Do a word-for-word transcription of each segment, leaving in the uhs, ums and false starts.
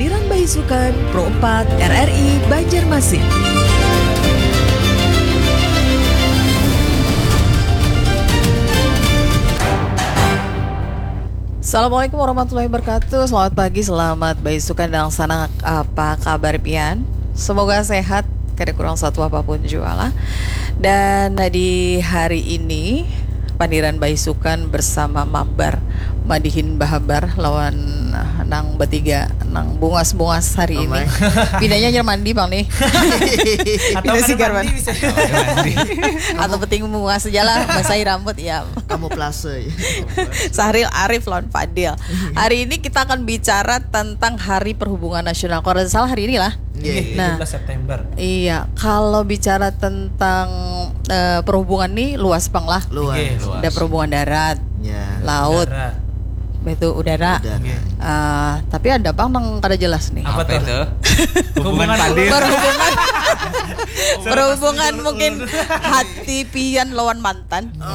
Pandiran Baisukan, Pro empat, R R I Banjarmasin. Assalamualaikum warahmatullahi wabarakatuh. Selamat pagi, selamat baisukan, dan sanak, apa kabar pian? Semoga sehat, kada kurang satu apapun jua lah. Dan di hari ini, Pandiran Baisukan bersama Mabar, madihin bahabar lawan, ah, nang batiga, nang bungas-bungas hari ini. Amai. Pindahnya hanyar mandi pang nih. Atau pindah kada sigar mandi, bisa. Atau penting bungas aja lah, basahi rambut ya. Kamuflase. Sahril Arif lawan Fadil. Hari ini kita akan bicara tentang Hari Perhubungan Nasional. Kalau tidak salah hari ini lah. Iya, iya. Nah, tujuh belas September. Iya, kalau bicara tentang, eh, perhubungan nih luas pang lah. Luas. Iya, luas. Ada perhubungan darat, ya, laut, darat, itu udara. Udara. Iya. Eh, tapi ada pang nang kada jelas nih. Apa tuh? Hubungan Fadil. Perhubungan. Perhubungan mungkin hati pian lawan mantan. Oh.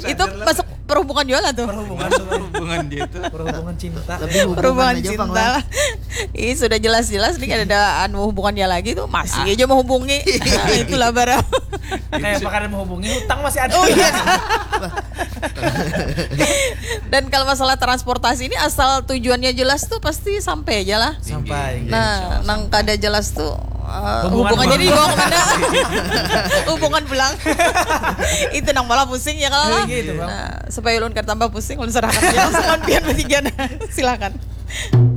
Itu masuk perhubungan juga lah tuh. Perhubungan. Hubungan dia tuh. Perhubungan cinta. Lebih hubungan aja, Bang, lah. Ih, sudah jelas-jelas nih, kada ada anu hubungannya lagi tuh, masih aja menghubungi. Nah, itulah barang. Kayak apa kada menghubungi, hutang masih ada. Oh, iya. Dan kalau masalah transportasi ini, asal tujuannya jelas tuh pasti sampai aja lah. Sampai. Nah, nang kada jelas tuh, eh, hubungannya dibawa kemana? Hubungan pulang. Itu nang malah pusing ya kalau lah. Iya, gitu, Bang. Nah, supaya ulun kada tambah pusing, ulun serahkan aja langsung lawan pian batiga. Silakan.